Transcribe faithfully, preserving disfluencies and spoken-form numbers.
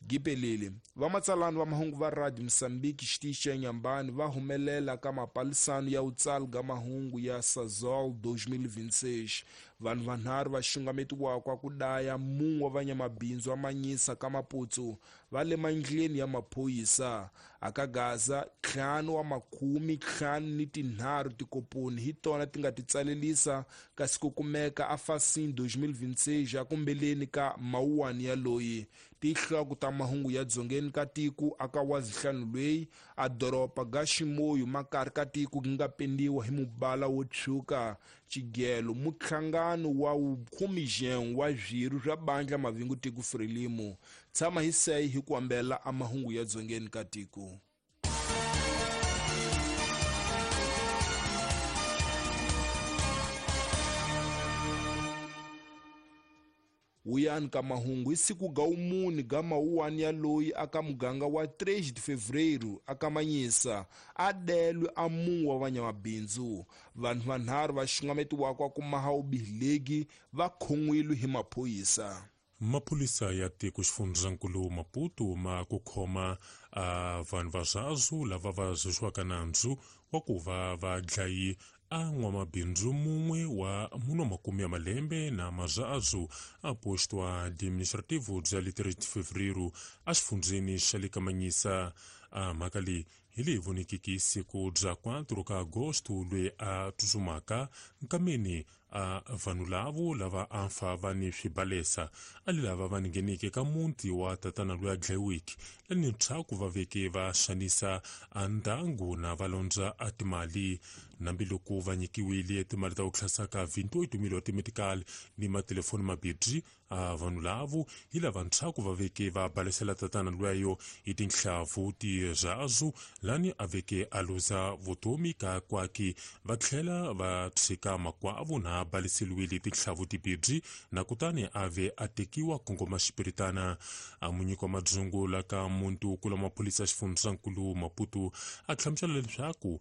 Gipelele vamatsalani va mahungu va Radio Mozambique xitichi xa Inhambane va humelela ka mapalisano ya utsali ga mahungu ya Sazol dois mil e vinte e seis. Vanhu vanharhu va xungametiwaka ku daya mun'we wa vanyamabindzu va Manyisa ka Maputo va le mandleni ya maphorisa. Aka Gaza ntlhanu wa makume ntlhanu ni tinharhu tikoponi hi tona ti nga ti tsalelisa kasi ku kumeka a Facim dois mil e vinte e seis akumbeleni ka mawuwani ya loyi. Tinhloko ta mahungu ya dzongeni ka tiko aka wazihlanu lweyi a doroba ga Ximoyo makari ka tiko ku nga pendiwa hi mubala wo tshwuka. Xigelo muhlangano wa vukhume wa swirho swa bandla mavingu tiko Frelimo. Tshama hi seyi hi ku ambela a mahungu ya dzongeni ka tiko. Wuyani ka mahungu hi siku ga wumune ga mawuwani ya loyi aka muganga wa três de fevereiro aka Manyisa a delwe a mun'we wa vanyamabindzu. Vanhu vanharhu va xungametiwaka ku maha vubihi va khon'wile hi maphorisa. Maphorisa ya tiko xifundzankulu Maputo ma ku khoma a vanhu va zwazu lava va zexiwaka nandzu wa ku va va dlayi a n'wamabindzu mun'we wa mune wa makume ya malembe na mazaazu a posto administrativo bya le três de fevereiro a xifundzeni xa le ka Manyisa. A mhaka leyi hi leyi vonekiki siku bya quatro ka agosto loyi a tsutsumaka nkameni a vanhu lavo lava a fa va ni swibalesa a li lava va ngheneke ka muti wa tatana loyi a dlayiweke lani ntshaku va veke va xanisa a ndyangu na va londza a timali. Nambiloko va nyikiwile timali ta ku hlasaka vinte e oito mil wa timedical ni matelefoni mabirhi a vanhu lavo hi lava ntshaku va veke va balesela tatana lweyo hi tinhlavu tirhazu lani a veke a luza vutomi ka kwaki va tlhela va tshika makwavo na baleseliwile tinhlavu tibirhi na kutani a ve a tekiwa kongoma xipiritana. A munyiki wa madzungu la ka muntu kula maphorisa xifundzankulu Maputo a hlamusela leswaku